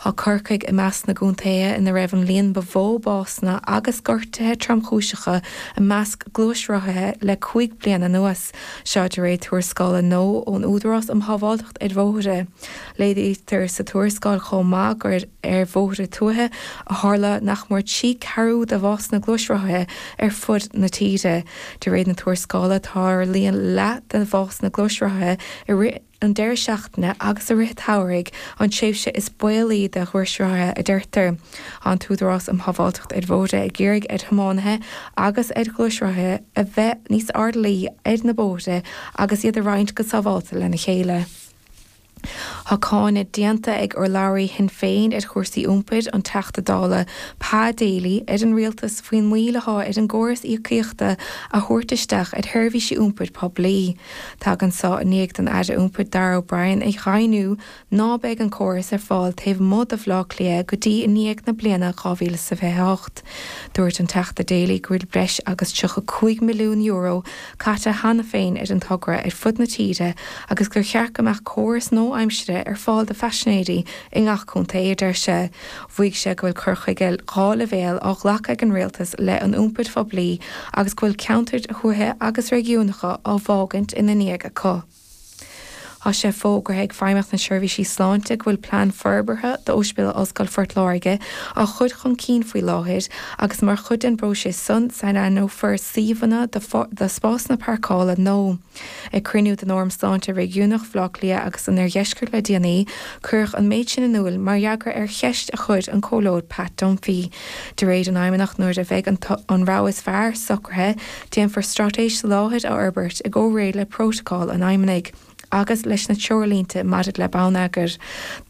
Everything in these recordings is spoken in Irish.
Tá Corcaigh i measc na gcontaetha ina raibh an líon ba mhó básanna agus gortuithe tromchúiseacha i measc gluaisrothaithe le 5 bliana anuas, seo de réir tuarascála nua ón Údarás um Shábháilteacht ar Bhóithre. Léirítear sa tuarascáil chomh maith gur ar bhóithre tuaithe a tharla nach mór 3 ceathrú de bhásanna gluaisrothaithe ar fud na tíre. De réir na tuarascála, tarlaíonn leath de bhásanna gluaisrothaithe i rith an deireadh seachtaine agus i rith an tsamhraidh, an tréimhse is baolaí do ghluaisrothaithe, a deirtear. Tá an tÚdarás um Shábháilteacht ar Bhóithre ag iarraidh ar thiománaithe agus ar ghluaisrothaithe a bheith níos airdeallaí ar na bóithre agus iad a roinnt go sábháilte lena chéile. Tá cáineadh déanta ag urlabhraí Shinn Féin ar chúrsaí iompair, an Teachta Dála Pa Daly, ar an Rialtas faoin moill atá ar an gcóras íocaíochta a thabhairt isteach ar sheirbhísí iompair poiblí. Tagann seo i ndiaidh don Aire Iompair Darragh O'Brien a dheimhniú ná beidh an córas ar fáil taobh amuigh de Bhaile Átha Cliath go dtí i ndiaidh na bliana 2028. Dúirt an Teachta Daly go bhfuil breis agus €35 milliún caite cheana féin ar an togra ar fud na tíre agus gur cheart go mbeadh córas nua-aimsire ar fáil do phaisinéirí i ngach contae, a deir sé. Mhaígh sé go bhfuil cur chuige dhá leibhéal á ghlacadh ag an rialtas i leith an iompair phoiblí agus go bhfuil ceantair thuaithe agus réigiúnacha á bhfágaint ina ndiaidh acu. Tá sé fógartha ag Feidhmeannacht na Seirbhísí Sláinte go bhfuil plean forbartha d'Ospidéal Ollscoile Phort Láirge á chur chun cinn faoi láthair agus mar chuid den bpróiseas san, sainaithneofar suíomhanna do spásanna páirceála nua. Ag cruinniú den Fhóram Sláinte Réigiúnach Bhaile Átha Cliath agus an Oirdheiscirt le déanaí, cuireadh an méid sin in iúl mar fhreagra ar cheist a chuir an Comhairleoir Pat Dunphy. De réir an Fheidhmeannach, nuair a bheidh an rogha is fearr socraithe, Déanfar straitéis soláthair a fhorbairt i gcomhréir le prótacal an Fheidhmeannaigh agus leis na treoirlínte maidir le bonneagar.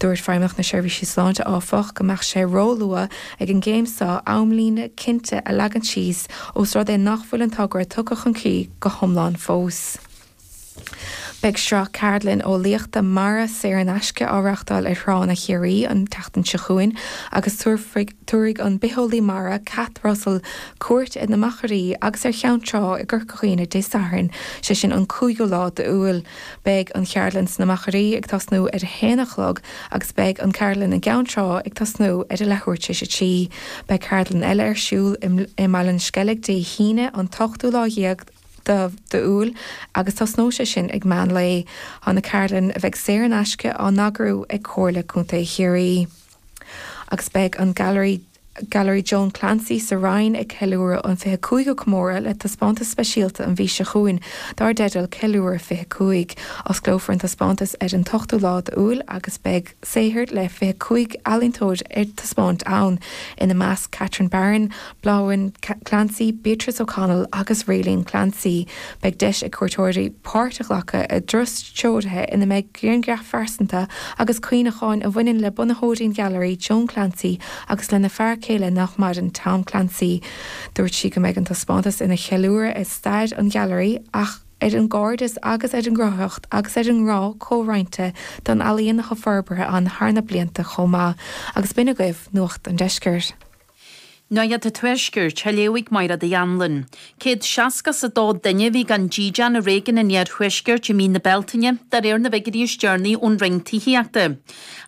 Dúirt Feidhmeannacht na Seirbhísí Sláinte, áfach, go mbeadh sé róluath ag an gcéim seo amlíne cinnte a leagan síos ós rud é nach bhfuil an togra tugtha chun críche go hiomlán fós. Beidh sraith ceardlann eolaíochta mara saor in aisce á reáchtáil ar thránna Chiarraí an tseachtain seo chugainn agus tabharfaidh an bitheolaí mara Cath Russell cuairt ar na Machairí agus ar Cheann Trá i gCorca Dhuibhne Dé Sathairn, sé sin an 5ú lá d'Iúil. Beidh an cheardlann sna Machairí ag tosnú ar a haon a chlog agus beidh an ceardlann i gCeann Trá ag tosnú ar a leathuair tar éis a 3. Beidh ceardlann eile ar siúl i mBaile an Sceilg Dé hAoine an t-ochtú lá dhéag d'Iúil agus tosnóidh sé sin ag meán lae. Tá na ceardlanna, a bheidh saor in aisce, á n-eagrú ag Comhairle Contae Chiarraí. Agus beidh an Gailearaí Gailearaí Joan Clancy sa Rinn ag ceiliúradh an 25ú comóradh le taispeántas speisialta an mhí seo chugainn dar dteideal Ceiliúradh 25. Osclófar an taispeántas ar an t-ochtú lá d'Iúil agus beidh saothair le 25 ealaíontóir ar taispeáint ann, ina measc Catherine Barron, Blodhwen Clancy, Beatrice O'Connell agus Rayleen Clancy. Beidh deis ag cuairteoirí páirt a ghlacadh i dturas treoraithe ina mbeidh grianghraif phearsanta agus cuimhneacháin a bhaineann le bunaitheoirí an Ghailearaí, Joan Clancy, agus lena fear céile nach maireann, Tom Clancy. Dúirt sí go mbeidh an taispeántas ina cheiliúradh ar stair an Ghailearaí ach ar an gcairdeas agus ar an gcruthaitheacht agus ar an ngrá comhroinnte don ealaíon atá forbartha ann thar na blianta chomh maith. Agus b'in agaibh Nuacht an Deiscirt. Nuacht an Tuaiscirt, á léamh ag Máire Uí Anluain. 162 duine a bhí gan dídean i réigiún an Iarthuaiscirt i mí na Bealtaine, de réir na bhfigiúirí is deireanaí ón Roinn Tithíochta.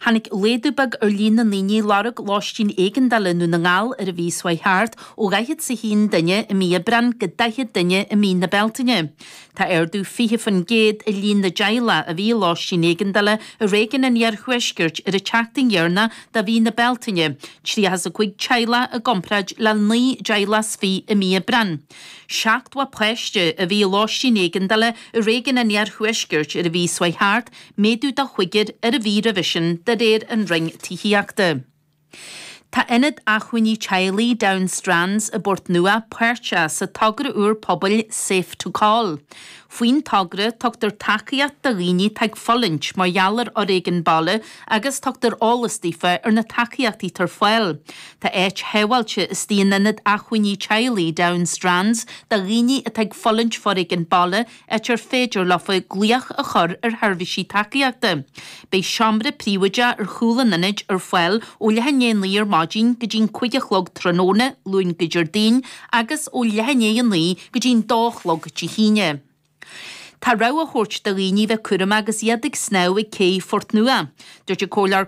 Tháinig laghdú beag ar líon na ndaoine ag lorg lóistín éigeandála i nDún na nGall ar an mhí seo chuaigh thart, ó 41 duine i mí Aibreáin go 40 duine i mí na Bealtaine. Tá ardú 20% i líon na dteaghlach a bhí i lóistín éigeandála i réigiún an Iarthuaiscirt ar an tseachtain dheireanach de mhí na Bealtaine, 35 teaghlach i gcomparáid le 19 dteaghlach i mí Aibreáin. 70 páiste a bhí i lóistín éigeandála i réigiún an Iarthuaiscirt ar an mhí seo chuaigh thart, méadú de chúigear ar an mhí roimhe sin, de réir an Roinn Tithíochta. Tá Ionad Acmhainní Teaghlaigh Down Strands i bPort Nua páirteach sa togra úr pobail Safe to Call. Faoin togra, tugtar tacaíocht do dhaoine atá ag fulaingt mar gheall ar fhoréigean baile agus tugtar eolas daofa ar na tacaíochtaí atá ar fáil. Tá áit shábháilte istigh in Ionad Acmhainní Teaghlaigh Down Strands do dhaoine atá ag fulaingt foréigean baile áit ar féidir leofa glaoch a chur ar sheirbhísí tacaíochta. Beidh seomra príobháideach ar chúl an ionaid ar fáil ó leath i ndiaidh a 9 ar maidin go dtí'n 5 a chlog tráthnóna, Luan go Déardaoin, agus ó leath i ndiaidh a 9 go dtí'n 2 a chlog Dé hAoine. Tá rabhadh á thabhairt do dhaoine bheith cúramach agus iad ag snámh ag cé Phort Nua. Dúirt an Comhairleoir.